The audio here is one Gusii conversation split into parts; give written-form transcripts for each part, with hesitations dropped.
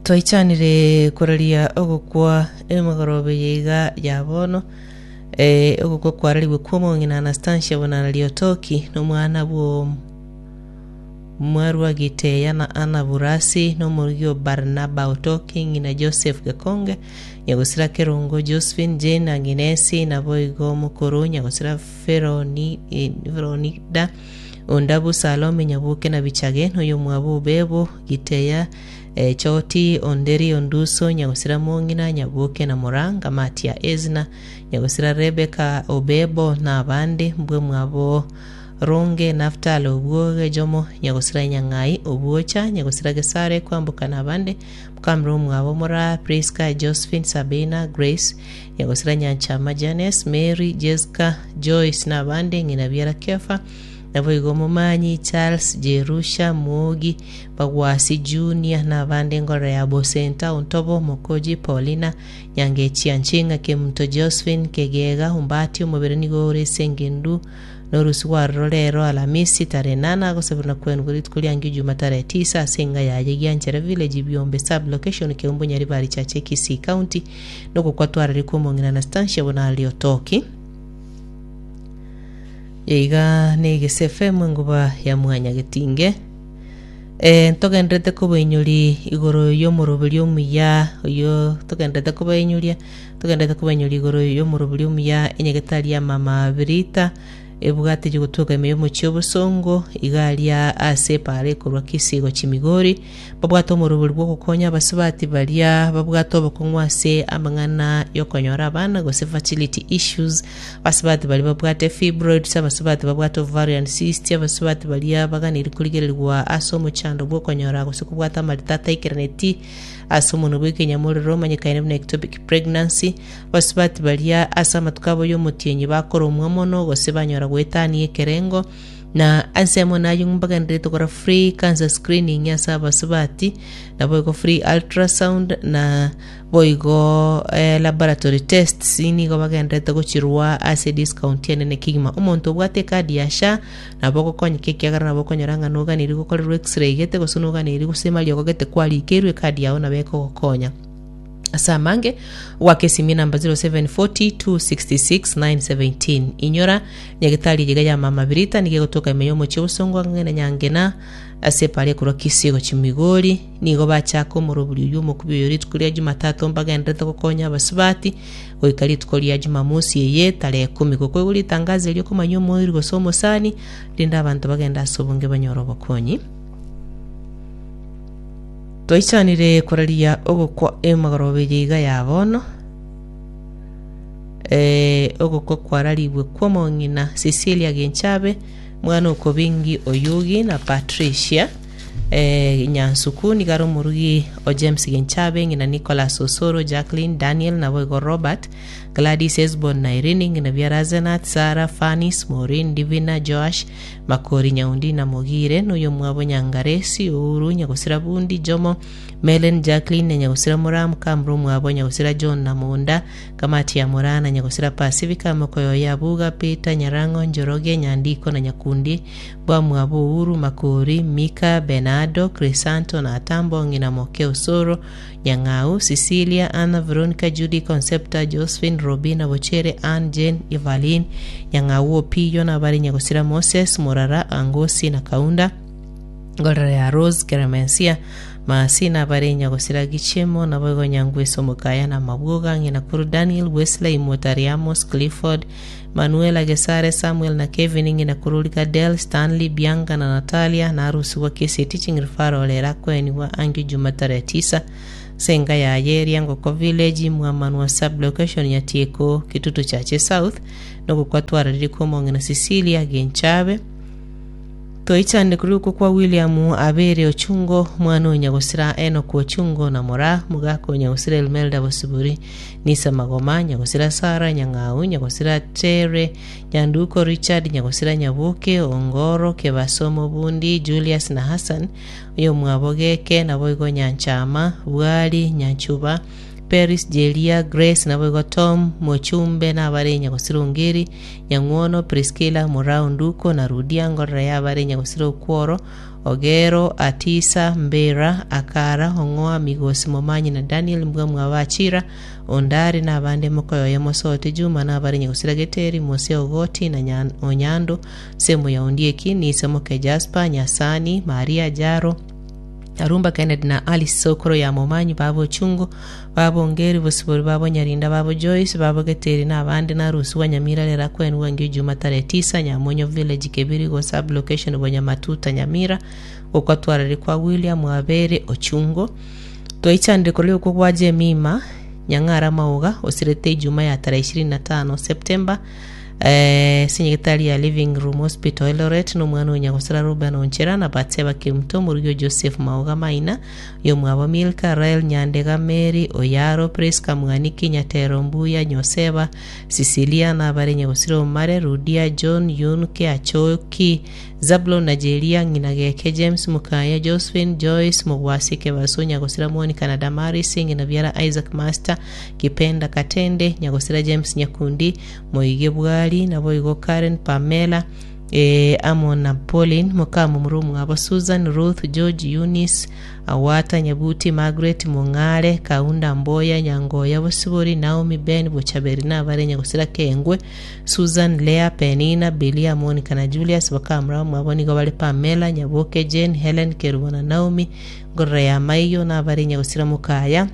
Twaichanire koraria ogokwa emegoroba eye iga ya bono, eh, ogokwa kwararigwe kw'omong'ina Anastasia Bonarari Otoki, na omwana bwo Mwarwa Giteya na Anna Burasi, na omorugi o Barnaba Otoki, ng'ina Joseph Gekonge, nyagosira Kerongo Josephine, Jane Aginesi, naboigo omokoro nyagosira Feroni, eh, Feronida, Ondabu Salome Nyaboke na Bichage, na oyomwabo Obebo Giteya, Echoti, Onderi, Onduso, Nyagosira Mong'ina, Nyaboke na Moranga, Matia Ezna, Nyagosira Rebeka, Obebo, na abande, mbwemwabo Ronge, Naftali, Obwoge, Jomo, Nyagosira Nyang'ai, Obwocha, Nyagosira Gesare, Kwamboka na abande, Mokamira omwabo Moraa, Prisca, Josephine, Sabina, Grace, Nyagosira Nyanchama, Janes, Mary, Jesca, Joyce na abande, ng'ina biara Kefa, Naboigo Omomanyi, Charles, Jerusha, Mwogi, Bagwasi, Junior, na abande engorero ya Bosenta, Ontobo, Mokoji, Paulina, Nyangechia, Nching'a, Kemunto, Josephine, Kegega, Ombati, omobere nigo ore ase engendu norusi gwaroro rero Alamisi tarehe nane agosaberwa na kwenugwa rituko riangio Juma tarehe tisa ase enga yaye Gianchere Village, Biombe Sub Location, Keumbu Nyaribari Chache Kisii County nogokwa twarari kw'omong'ina Anastasia Bonareri Otoki. Iga negese FM enguba ya mwanyagetinge. Eh, ntogenderete kobainyori igoro y'omoroberio omuya oyio togenderete kobainyoria togenderete kobainyoria igoro y'omoroberio omuya enyagetari ya mama Birita ebwate gotoka ime y'omochie obosongo iga aria ase epaara ekorwa Kisii gochia Migori babwate omorobori bw'ogokonya abasubati baria babwate obokong'u ase amang'ana y'okonyora abana gose fertility issues Abasubati baria babwate fibroids, abasubati babwate ovarian cysts, abasubati baria baganeiri korigererigwa ase omochando bw'okonyora gose kobwata amarita ataikeraneti ase omonwa bw'ekenyamorero omanyekaine buna ectopic pregnancy, abasubati baria ase amatuko abo y'omotienyi bakoromwa mono gose banyora goetania ekerengo, na ensemo naye mbagendererete gokora free cancer screening ase abasubati, naboigo free ultrasound na Boigo laboratory tests nigo bagendererete gochirwa ase discount enene kegima. Omonto obwate ekadi ya SHA nabo ogokonyeka ekiagera nabo okonyora ng'a noganeirie gokorerwa x-ray gete gose noganeirie gose mariogo gete kwarikerwe ekadi yao nabo ekogokonya. Ase amange goaka esimi enamba 0740 266 917. Inyora nyagetari eye iga ya Mama Birita nigo egotoka ime y'omochie obosongo ang'e na Nyangena ase epara ekorwa Kisii gochia Migori. Nigo bachaka omorobori oyio omokubi oyo rituko ria Jumatatu mbagenderete gokonya abasubati goika rituko ria Jumamosi eye tarehe ikomi. Gokoigwa ritangazo erio okomanya omoiri gose omosani, rende abanto bagende ase obonge banyore obokonyi. Twaichanire koraria ogokwa emagoroba eye iga ya bono. Eh, ogokwa kwararigwe kw'omong'ina Cecilia Genchabe, mwana okobingi Oyugi na Patricia. Nyansuku nigo are omorugi o James Genchabe, ng'ina Nicholas Osoro, Jacqueline, Daniel, naboigo Robert, Gladys, Hesbon na Irene, ng'ina biara Asenath, Sarah, Fanis, Maureen, Divina, Joash, Makori, Nyaundi na Mogire, na oyomwabo Nyangaresi, Ouru, Nyagosira Bundi, Jomo, Melen, Jacqueline na Nyagosira Moraa, Mukamura omwabo Nyagosira John na Monda, Kamati ya Moraa na Nyagosira Pasifika, Mokoyoyo Abuga, Peter, Nyarang'o, Njoroge, Nyandiko na Nyakundi, Bwamwabo Uhuru, Makori, Mika, Benardo, Crisanto, na Atambo, ng'ina moke Osoro, Nyang'au, Cecilia, Anna, Veronica, Judy, Concepta, Josephine, Robina, Bochere, Ann, Jane, Evaline, Nyang'au, Opiyo, na abare Nyagosira Moses, Morara, Angosi, na Kaunda, Ngorera ya Rose, Keremensia, Maasi, na abare Nyagosira Gichemo, naboigo Nyangwesi Omokaya, na Amabwoga, ng'ina Kuru Daniel, Wesley, Motari, Amos, Clifford, Manuela, Gesare, Samuel na Kevin, ng'ina korori Cadel, Stanley, Bianca na Natalia, na arusigwa Kisii Teaching Referral ere akoenigwa angio Juma tarehe tisa ase enka yaye Riangoko Village, Mwamanwa Sub-location, Nyatieko, Kitutu Chache South, nogokwa twararire kw'omong'ina Cecilia Genchabe. Toichande korwa kwa William Abere Ochungo, omwana o Nyagosira Enock Ochungo na Moraa, mogaka o Nyagosira Elmelda Bosibori, Nisa Magoma, Nyagosira Sarah Nyang'au, Nyagosira Tere, Nyanduko Richard, Nyagosira Nyaboke, Ongoro, Kebaso Mobundi, Julius na Hassan, oyomwabo Geke, naboigo Nyanchama, Bwari, Nyanchuba, Peris, Jeria, Grace, naboigo Tom, Mochumbe, nabare nyagosira Ongeri, Nyang'wono, Priscilla, Murao, Nduko, na Rudia, ngorora yabare nyagosira Okworo, Ogero, Atisa, Mbera, Akara, Ong'oa, Migosi, Momanyi, na Daniel, mbwa mwabo Achira, Ondari, na abande mokoyoye Mosote, Juma, nabare nyagosira Geteri, Mose, Ogoti, na Nyan- Onyando, Semu ya Ondieki, Nise moke Jasper, Nyasani, Maria, Jaro, Arumba Kennedy na Alice Sokoro ya Momanyi, babo Ochungo, babo Ongeri, Bosibori, babo Nyarinda, babo Joyce, babo Geteri na abande na Rusi Nyamira rera kwenwa ngio Juma tarehe tisa Nyamonyo Village Kebirigo sub location Bonyamatuta Nyamira gokwatwarire kwa William Wabere Ochungo Twaichanire korwa okwo gwa Jemima Nyang'ara Mauga osirete Ijuma ya tarehe 25 September eh, ase ya Living Room Hospital Eldoret nomwana o Nyagosira Ruben Onchera na Batseba Kemuto omorugi o Joseph Mauga Maina oyomwabo Milka Rael Nyandega Mary Oyaro Prisca Mwaniki Nyatero Mbuya Nyoseba Cecilia nabare Nyagosira Omare Rudia John Yunke Achoki Zablon na Jeria ng'ina Geke James Mukaya Josephine Joyce Mogwasi Kebaso Nyagosira Monica na Damaris ng'ina biara Isaac Master Kipenda Katende Nyagosira James Nyakundi Moige Bwari naboigo Karen Pamela eh, amo na Pauline mokamomura omwabo Susan Ruth George Eunice Awata Nyabuti Margaret Mong'are Kaunda Mboya Nyangoya Bosibori Naomi Ben Bochaberi nabare Nyagosira Kengwe Susan Lea Penina Bilia Monica na Julius bakamura omwabo nigo bare Pamela Nyaboke Jane Helen Kerubo na Naomi Ngorora ya Maiyo nabare Nyagosira Mokaya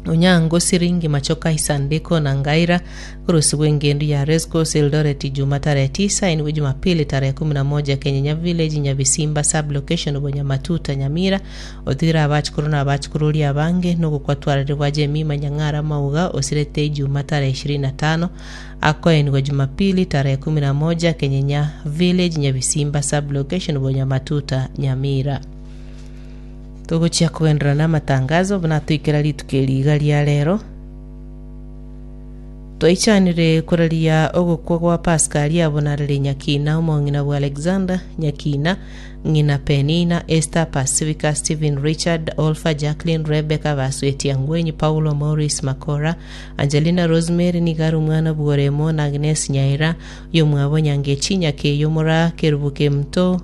Onyango Siringi Machoka Isandiko na Ngaira kurusigwa engendu ya Rescos Eldoret Juma tarehe 9 inwe Jumapili tarehe 11 Kenyenya Village Nyabisimba sub location Bonyamatuta Nyamira otigire abachukuru na abachukuru abange nogokwatwarire Jemima Nyang'ara Mauga osirete Juma tarehe 25 akoenigwa Jumapili tarehe 11 Kenyenya Village Nyabisimba sub location Bonyamatuta Nyamira togochia kuenderera na amatangazo buna twikera rituko riga ria rero twaichanire koraria ogokwa gwa Pascal abonarere Nyakina omong'ina bwa Alexander Nyakina ng'ina Penina Esther Pacifica Stephen Richard Olfa Jacqueline Rebecca Baswetia Ngwenyi Paulo Maurice Makora Angelina Rosemary nigari omwana bworemo na Agnes Nyaira yomwabo Nyangechi Nyakeyo Mura Kerubuke Mto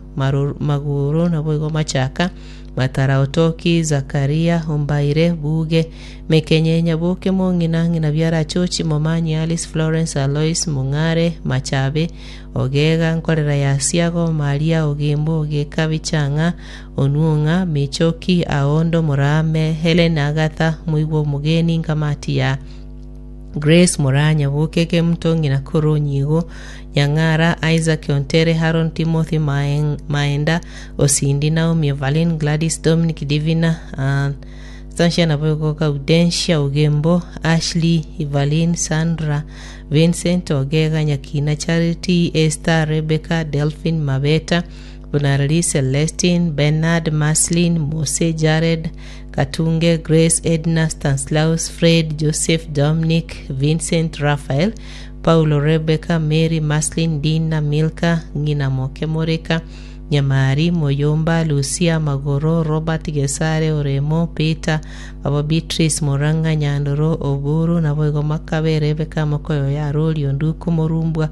Maguru naboigo Machaka Matara Otoki Zakaria Ombaire Buge Mekenye Nyaboke Mong'ina ng'ina biara Chochi Momanyi Alice Florence Alois Mong'are Machabe Ogega Nkorera ya Siago Maria Ogembo Ogeka Bichang'a Onuong'a Michoki Aondo Murame Helen Agatha Muigwa Omogeni Nkamati ya Grace Muranya Boke Kemuto ng'ina Koro Nyigo Nyang'ara Isaac Ontere Haron Timothy Maenda Osindi Naomi Evelyn Gladys Dominic Divina Sanshia naboigo Gaudensia Ogembo Ashley Evelyn Sandra Vincent Ogega Nyakina Charity Esther Rebecca Delphine Mabeta Bunarari Celestine Bernard Maslin Mose Jared Katunge Grace Edna Stanislaus Fred Joseph Dominic Vincent Raphael Paulo Rebecca Mary Maslin Dina Milka ng'ina Moke Moreka Nyamari Moyomba Lucia Magoro Robert Gesare Oremo Peter Babo Beatrice Murang'a Nyandoro Oburu naboigo Makabe Rebecca Mokoyo ya Rori Onduku Morumbwa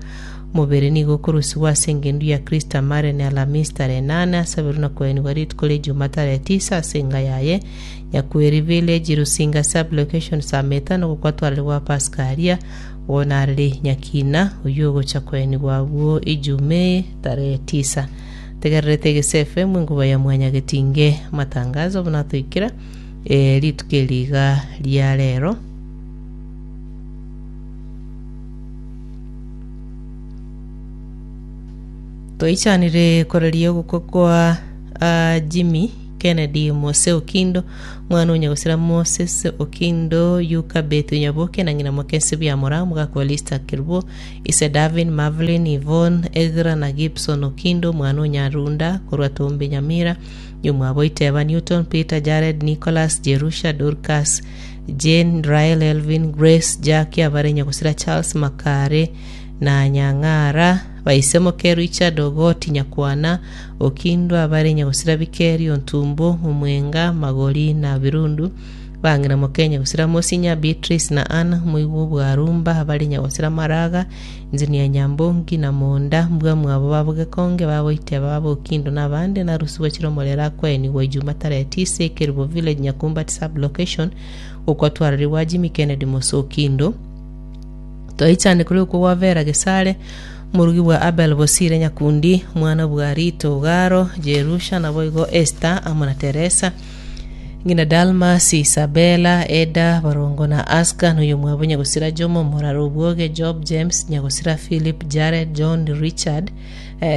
omobere nigo okorusigwa ase engendu ya Krista Maren Alhamisi tarehe 8 asaberwe na koenigwa rituko ria Ijuma tarehe 9 ase enga yaye Nyakweri Village Rusinga sub location Sameta nogokwatwarire gwa Pascalia bonarere Nyakina oyio ogocha koenigwa abwo Ijumaa tarehe 9 tegererete Egese FM enkuba ya Mwanyagetinge amatangazo buna toikera eh, rituko eriga ria rero Toichanire koraria ogokwa kwa ah, Jimmy Kennedy Mose Okindo mwana onyagosira Moses Okindo Yuka Bethu Nyaboke na ng'ina Mokensi Biamora omogaka wa Lista Kerubo ise Davin Marvelin Yvonne Egra na Gibson Okindo mwana onyarunda korwa Tombe Nyamira nyomwabo Iteba Newton Peter Jared Nicholas Jerusha Dorcas Jane Rael Elvin Grace Jackie abare nyagosira Charles Makare na Nyang'ara baisemoke Richard Ogoti Nyakwana Okindo abare nyagosira Bikeri Ontumbo Omwenga Magori na Birundu. Bang'ina moke nyagusira Mosinya, Beatrice na Anna, moigwa obwarumba, abare nyagusira Maraga, Engineer Nyambongi na Monda, mbwa mwabo babo Gekonge, bagoiteba babo Okindo na abande, narusibwe chire omorero akoenigwa Ijuma tarehe tisa Ekerubo Village Nyakumbati Sub Location, gokwa twararigwa Jimmy Kennedy Mose Okindo. Twaichane koria okwo gwa Vera Gesare, omorugi bwa Abel Bosire Nyakundi, omwana bwa Rita Ogaro, Jerusha, naboigo Esther amo na Teresa, Ng'ina Dalmas, Isabella, Eda, Barongo na Aska, na oyomwabo Nyagosira Jomo, Morara Obwoge, Job, James, Nyagosira Philip, Jared, John, Richard,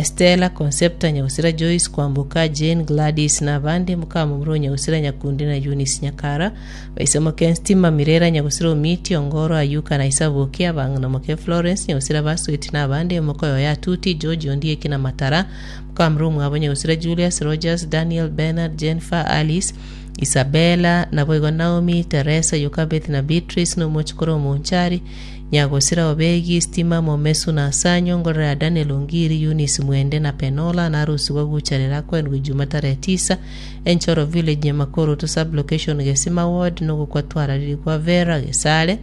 Stella, Concepta, Nyagosira Joyce, Kwamboka, Jane, Gladys na abande, mokamomura o Nyagosira Nyakundi na Eunice Nyakara, Baise moke Nstima, Mirera, Nyagosira Omiti, Ongoro, Ayuka na Isaboki, abang'ina moke Florence, Nyagosira Basweti na abande, mokoyoyo Atuti, George, Ondieki na Matara, Mokamura omwabo Nyagosira Julius, Rogers, Daniel, Bernard, Jennifer, Alice, Isabella, naboigo Naomi, Teresa, Yokabeth na Beatrice, na omochokoro omonchari, Nyagosira Obegi, Stima, Momesu na Asanyo, ngorora ya Daniel Ongiri, Eunice Mwende na Penola, narusigwe gucharera akoenigwe Ijuma tarehe tisa, Enchoro Village, Nyamakoroto Sub-location, Gesima Ward, nogokwa twarariri kwa Vera Gesare.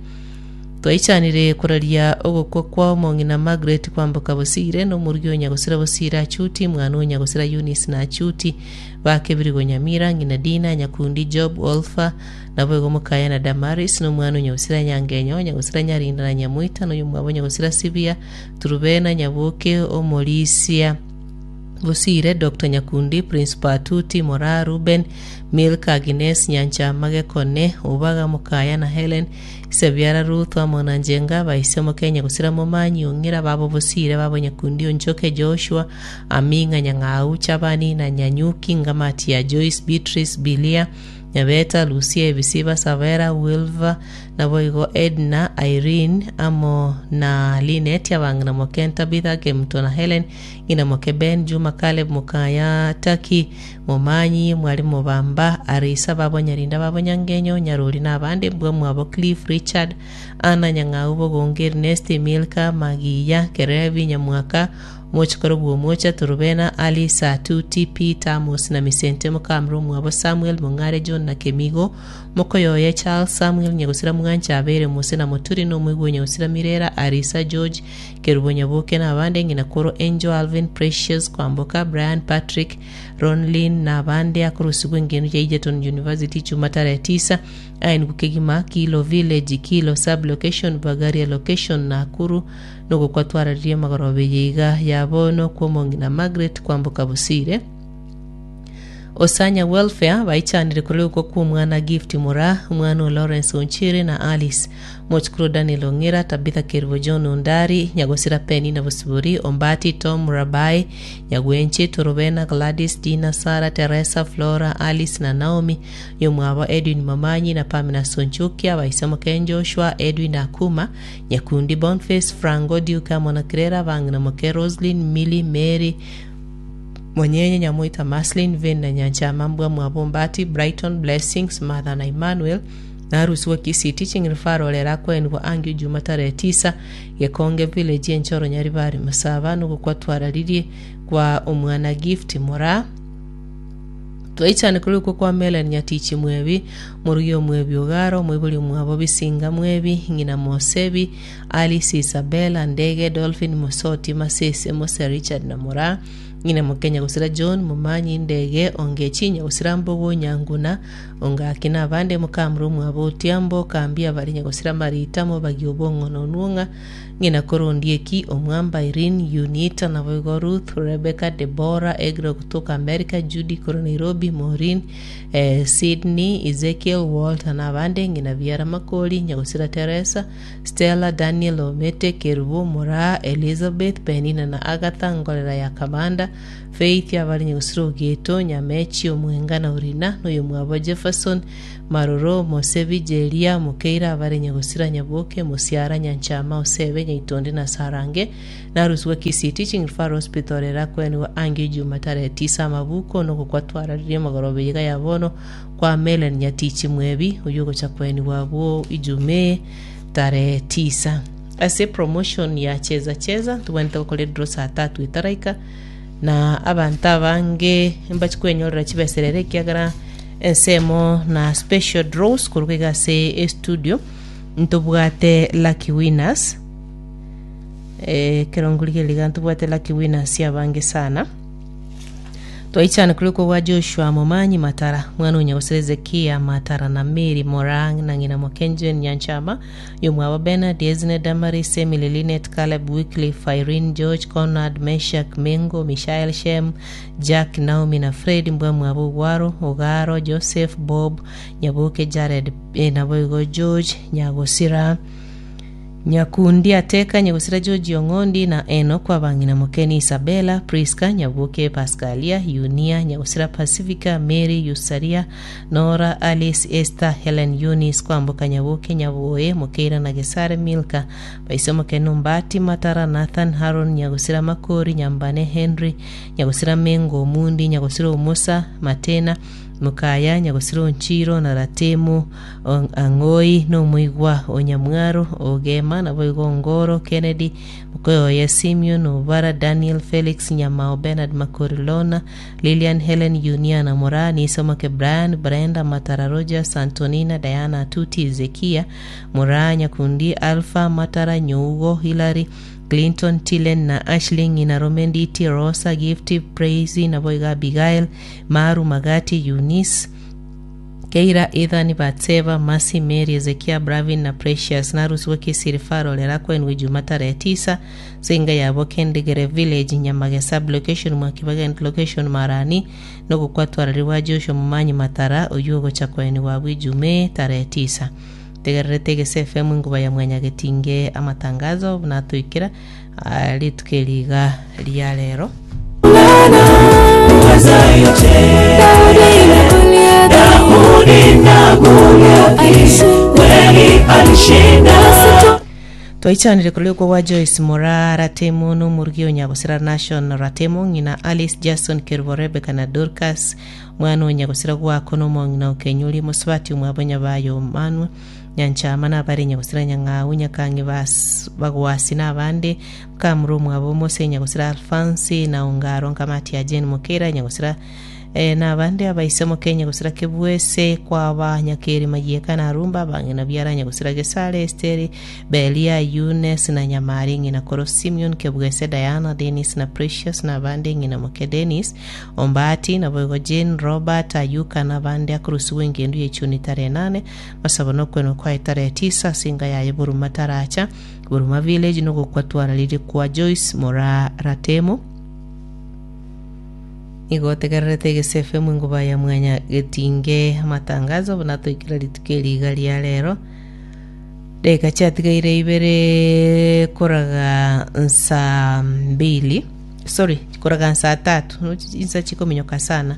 Twaichanire koraria ogokwa kwa omong'ina Margaret kwamboka Bosire, na omorugi o Nyagosira Bosire Achuti, mwana o Nyagosira Eunice na Achuti, bakebirigwe Nyamira, ng'ina Dina, Nyakundi, Job, Olfa, naboigo mokaya na Damaris, na omwana o Nyagosira Nyangenyo, Nyagosira Nyarinda na Nyamoita, na oyomwabo Nyagosira Sibia, Turubena, Nyaboke, Omorisia. Bosire, Doctor Nyakundi, Principal Atuti, Moraa, Reuben, Milka, Agnes, Nyanchama, Gekone, Obaga, Mokaya na Helen, Isebiara, Ruth, amo na Njenga, Baise, Mokenya, Gosira, Momanyi, Ong'ira, babo Bosire, babo Nyakundi, Onchoke, Joshua, Aming'a, Nyang'au, Chabani na Nyanyuki, Ngamati ya Joyce, Beatrice, Bilia, Nyabeta, Lucia, Ebisiba, Savera, Wilva, Naboigo Edna, Irene, amo na Linet, abang'ina moke Tabitha, Kemuto na Helen, ng'ina moke Ben, Juma, Caleb, mokaya Taki, Momanyi, Mwalimu Bamba, Arisa, babo Nyarinda, babo Nyangenyo, Nyarori na abande, mbwa mwabo Cliff, Richard, Anna, Nyang'au, Bogonge, Ernest, Milka, Magiya, Kerebi, Nyamwaka, Omochokoro bw'Omocha, Torobena, Alice, Atuti, Peter, Amos na Misente, mokamura omwabo Samuel, Mong'are, John na Kemigo, Mokoyoye Charles Samuel Nyagosira Mwancha abeire Mose na Moturi na omoigwa o Nyagosira Mirera Arisa George Kerubo Nyaboke na abande ng'ina koro Angel Alvin Precious Kwamboka Brian Patrick Ronlyn na abande akorusigwa engenu ya Egerton University chuma tarehe tisa aenigwe kegima Kilo Village Kilo Sub Location Bagaria Location Nakuru nogokwa twararirie magoroba eye iga ya bono kw'omong'ina Margaret Kwamboka Bosire Osanya Welfare baichanire korwa ogokwa kw'omwana Gift Moraa, omwana o Lawrence Onchiri na Alice, mochukuru Daniel Ong'ira, Tabitha Kerubo John Ondari, Nyagosira Penina Bosibori, Ombati Tom Rabai, Nyagwenche, Torobena, Gladys, Dina, Sarah, Teresa, Flora, Alice na Naomi, oyomwabo Edwin Momanyi na Pamela Sonchukia, abaise moke Joshua, Edwin Akuma, Nyakundi Bonface, Frango, Duke amo na Clara, abang'ina moke Roslyn, Milly, Mary, Monyenye, Nyamoita, Maslin, Vane na Nyanchama, Mbwa Mwabo, Mbati, Brighton, Blessings, Martha na Emmanuel, na Arusi wa Kisii Teaching Referral erakoenigwa angio Juma tarehe tisa, Gekonge Village Enchoro Nyaribari Masaba nogokwa twararirie kwa omwana Gift Moraa. Twaichane korwa okwo kwa Melen Nyatichi Mwebi, morugi omwebi Ogaro, omoibori omwabo Bisinga Mwebi, ng'ina Mosebi, Alice Isabella, Ndege, Dolphin Mosoti, Masese, Mose Richard na Moraa, ng'ina Mokenya gosira John, Momanyi, Ndege, Ongechi, Nyagosira Mbogo, Nyanguna, Ongaki na abande, mokamura omwabo Otiambo, Kambia abare Nyagosira Marita, Mobagi Obong'o na Onwong'a, Ng'ina Korondieki, Omwamba, Irene, Yunita, naboigo Ruth, Rebecca, Deborah, Egro gotoka America, Judy korwa Nairobi, Maureen, eh, Sydney, Ezekiel, Walter na abande, ng'ina biara Makori, Nyagosira Teresa, Stella, Daniel, Omete, Kerubo, Moraa, Elizabeth, Penina na Agatha, Ngorera ya Kabanda, Faith, abare Nyagosira Ogeto, Nyamechi, Omwenga na Orina, noyomwabo Jefferson, Maroro, Mosebi, Jeria, Mokeira, abare Nyagosira, Nyaboke, Mosiara, Nyanchama, Osebe, Nyaitonde na Sarange, Narusigwe Kisii Teaching Referral Hospital erakwenigwe ange Ijuma tarehe tisa amabuko nogokwa twararirie amagoroba eyeiga ya bono kwa Melen Nyatichi Mwebi oyio ogocha kwenigwa abwo Ijuma eye tarehe tisa. Ase promotion ya cheza cheza ntobwenerete gokora edraw saa tatu etaraika na abanto abange mbachi kwenyorera chibesa ere ekiagera. Ensemo na special draws korwa iga ase estudio ntobwate lucky winners. Eh, ekero nkorigereria iga ntobwate lucky winners abange sana. Twaichana korwa kobua Joshua Momanyi Matara, mwana o Nyagosira Hezekia Matara na Mary Morang na ng'ina Mokenjen Nyanchama, yomwabo Bernard, Esne, Damaris, Emily, Linet, Caleb, Wycliffe, Irene, George, Conrad, Meshack, Mengo, Mishael, Shem, Jack, Naomi na Fred, mbwamwabo Ogwaro, Ogaro, Joseph, Bob, Nyaboke, Jared, eh, naboigo George Nyagosira. Nyakundi Ateka, Nyagosira George Ong'ondi, na Enock abang'ina Mokeni Isabella, Prisca, Nyaboke Pascalia, Yunia, Nyagosira Pacifica, Mary, Yusaria, Nora, Alice, Esther, Helen, Eunice, Kwamboka Nyaboke, Nyaboe, Mokeira na Gesare, Milka, Baise Mokeni Ombati, Matara, Nathan, Haron, Nyagosira Makori, Nyambane, Henry, Nyagosira Mengo, Omundi, Nyagosira Omusa, Matena, Mokaya, Nyagosira Onchiro, na Ratemu, Ang'oi, nomoigwa o Nyamwaro, Ogema, naboigo Ongoro, Kennedy, mokoyoye Simeon, Obara, Daniel, Felix, Nyamao, Bernard, Makori, Lorna, Lilian, Helen, Yunia, na Moraa, Niso Moke, Brian, Brenda, Matara, Rogers, Antonina, Diana, Atuti, Hezekia, Moraa, Nyakundi, Alpha, Matara, Nyougo, Hillary, Clinton, Tilen, na Ashley, ng'ina Rome, Nditi, Rosa, Gift, Praise, naboigo Abigail, Maru, Magati, Eunice, Keira, Ethan, Batseba, Mercy, Mary, Ezekia, Bravin, na Precious narusigwe Kisiri Faro rero akoenigwe Juma tarehe tisa ase enga yabo Kendegere Village, Nyamage Sub-location, Mwakibagend Location, Marani, nogokwatwararigwa Joshua Momanyi Matara oyio ogocha koenigwa abwo Ijumaa tarehe tisa. Tegererete Egese FM enguba ya Mwanyagetinge amatangazo buna atoikera ah, rituko eri iga ria rero. Twaichanire korwa okwo gwa Joyce Moraa Ratemo na omorugi o Nyagosira Nashon Ratemo, ng'ina Alice Jason Kerubo Rebecca na Dorcas, omwana o Nyagosira gwako na omong'ina o Kenyuri mosubati omwabo Nyabayo Manwa Nyanchama na abare Nyagosira Nyang'au Nyakang'i bas Bagwasi na abande Kamura omwabo Mose Nyagosira Alfansi na Ongaro Nkamati ya Jane Mokeira Nyagosira eh, na abande abaise moke Nyagosira Kebwese kwaba Nyakeri Mayieka na Arumba abang'ina biara Nyagosira Gesare Esteri Belia Eunice na Nyamari ng'ina koro Simeon Kebwese Diana Dennis na Precious na abande ng'ina moke Dennis Ombati naboigo Jane Robert Ayuka na abande akorusigwa engendu ye chuni tarehe nane masabo nokwenwa kwaye tarehe tisa ase enga yaye Buruma taracha Buruma Village nogokwa twararirie kwa Joyce Moraa Ratemo. Nigo otegererete Egese FM enguba ya mwanya getinge amatangazo buna toikera rituko eri iga ria rero. Dakika chiatigaire ibere koraga nsaa mbili sorry koraga nsaa tatu insa chikominyoka sana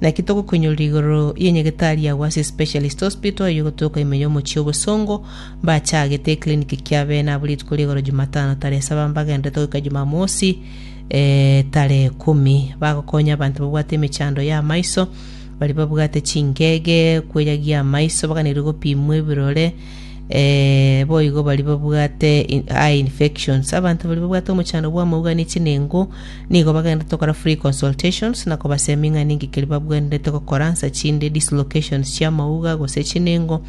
naki togokonyoria igoro y'enyagetari ya Wasi Specialist Hospital eyio egotoka ime y'omochie obosongo Mbachagete eclinic kiabe nabwo rituko rigoro Jumatano tarehe saba mbagenderete goika Jumamosi eh, tarehe kumi bagokonya abanto babwate emechando ya amaiso baria babwate chingege kweyagia amaiso baganeirie gopimwa ebirore eh, boigo baria babwate in- eye infections abanto baria babwate omochando bwa amauga ne chinengo nigo bagenderete gokora free consultations na kobasemia ng'a ninki keria babwenerete gokora nsa chinde dislocations chia amauga gose chinengo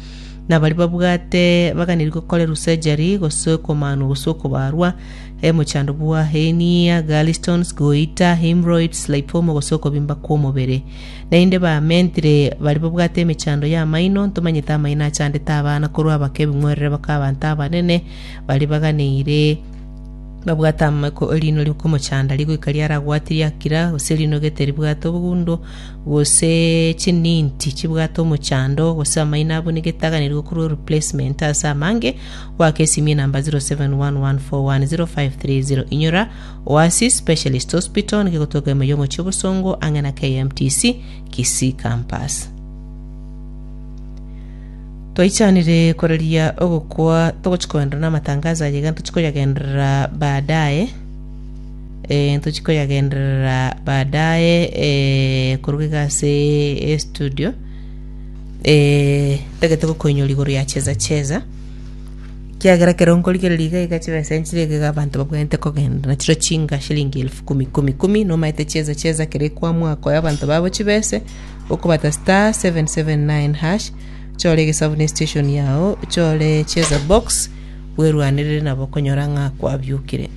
Na baria babwate baganeirie gokorerwa surgery, gose okomanwa gose okobarwa, emochando bwa hernia, gallstones, goiter, hemorrhoids, lipoma gose okobimba kw'omobere. Naende bamentire baria babwate emechando y'amaino, ntomanyete amaino achandete abana korwa abake ebing'werere baka abanto abanene, baria baganeire babwate amako erino rikomochanda rigoika riaragwati riakira, gose erino gete ribwate obogundo, gose chininti chibwate omochando, gose amaino abwo nigo etaganirwe korwa replacement ase amange, goaka esimi enamba 0711410530. Inyora, Oasis Specialist Hospital nigo egotoka ime y'omochie obosongo ang'e na KMTC Kisii Campus. Twaichanire koraria ogokwa togochi koenderera na amatangazo aya iga ntochi koyagenderera baadaye. Eh, ntochi koyagenderera baadaye eh, koruga iga ase estudio eh, ntagete gokoinyora igoro ya cheza cheza. Kiagera ekero nkorigereria iga iga chibesa nchire iga iga abanto babwenerete kogenda na chiro chinga shilingi elfu kumi kumi kumi nomaete cheza cheza ekero ekwamua koa abanto babo chibese okobata star 779 hash chore egesabu ne station yao chore cheza box bwerwanerere nabo okonyora ng'a kwabiokire.